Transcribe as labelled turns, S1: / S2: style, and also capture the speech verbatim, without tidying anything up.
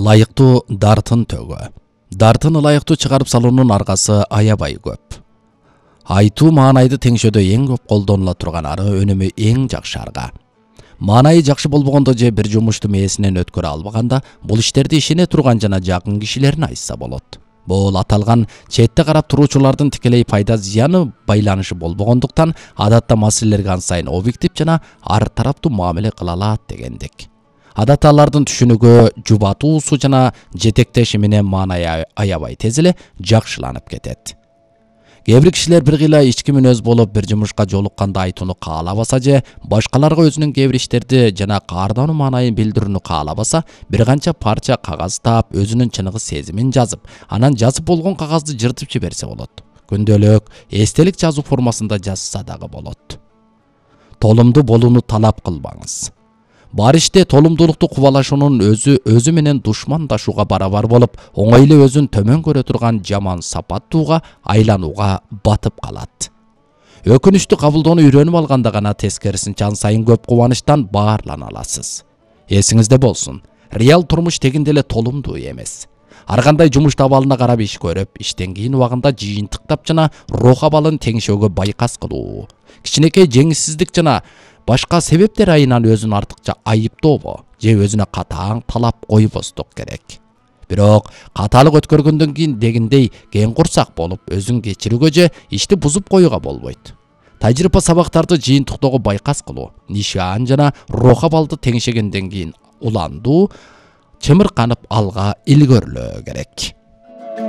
S1: Ылайыктуу дартын төгө. Дартын ылайыктуу чыгарып салуунун аргасы аябай көп. Айтуу маанайды теңшөөдө эң көп колдонула турган ары, өнүмү эң жакшы арга. Маанайы жакшы болбогондо же бир жумушту мээсинен өткөрө албаганда, бул иштерди ишене турган жана жакын кишилерин айтса болот. Бул аталган четте карап туруучулардын тикелей пайда зыяны байланышы болбогондуктан, адатта маселелерге ан сайын объектив жана ар тараптуу мамиле кыла алат дегендик. Адатта алардын түшүнүгү, жубатуусу жана жетектеши менен маанайы аябай тез эле жакшыланып кетет. Кээ бир кишилер бир кыйла ички мүнөз болуп, бир жумушка жолукканда айтууну каалабаса же башкаларга өзүнүн кээ бир иштерди жана каардануу маанайын билдирүүнү каалабаса, бир канча парча кагаз таап, өзүнүн чыныгы сезимин жазып, анан жазып болгон кагазды жыртып жиберсе болот. Күндөлүк, эстелик жазуу формасында жазса дагы болот. Толумдуу болууну талап кылбаңыз. Бар иште толумдуулукту кубалашуунун өзү өзү менен душмандашууга барабар болуп, оңой эле өзүн төмөн көрө турган жаман сапаттууга айланууга батып калат. Өкүнүчтү кабылдоону үйрөнүп алганда гана тескерисинче ан сайын көп кубанычтан баарлана аласыз. Эсиңизде болсун, реал турмуш тегинде эле толумдуу эмес. Ар кандай жумуш абалына карап иш көрүп, иштен кийин убагында жыйынтыктап жана рух абалын теңшөөгө байкас кылуу, кичинекей жеңишсиздик жана башка себептер айынан өзүн артыкча айыптообо же өзүнө катаң талап койбостук керек. Бирок каталык өткөргөндөн кийин дегендей кең курсак болуп, өзүн кечирүүгө же ишти бузуп коюуга болбойт. Тажрыйба сабактарды жыйынтыктоого байкас кылуу, нишан жана рух абалды теңшегенден кийин уландуу, чымырканып алга илгөрүлөө керек.